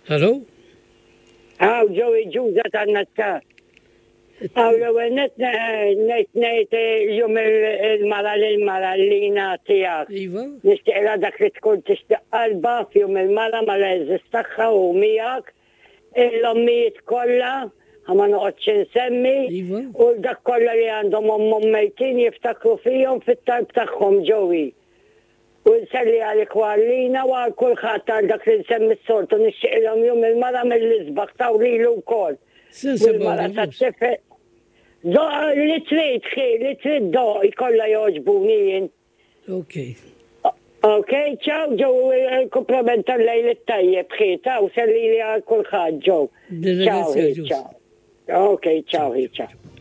Hello? Hawn Joey Ġuża tan-Nazzar. Hawn l-ewwel nett ngħid ngħid jum il-mara lil mara lina tiegħek. Iva. Nixtieqilha dak li tkun tixtieq qalbha f'jum il-mara mal-għeżież tagħha u miegħek. L-ommijiet kollha, ħa ma noqgħodx insemmi, Iva. u dak kollha li għandhom ommhom mejtin jiftakru fihom fit-talb tagħhom Joey. U nselli għalik u għal Lina u għal kulħadd għal dak li nsemmi s-soltu nixtieqilhom jum il-mara mill-isbaħ taw lilu wkoll. Se U l-mara nsemgħu tat-tifel. Doq li trid ħi, li trid doq kollha jogħġbuni jien. Ok. Ok, ciao Joe, il-kumplament tal-lejl it-tajjeb ħi, taw sellili għal kulħadd Joe. Ciao Nirringrazzjak ħi, Ġus. ciao. Ok, ciao ħi, ciao.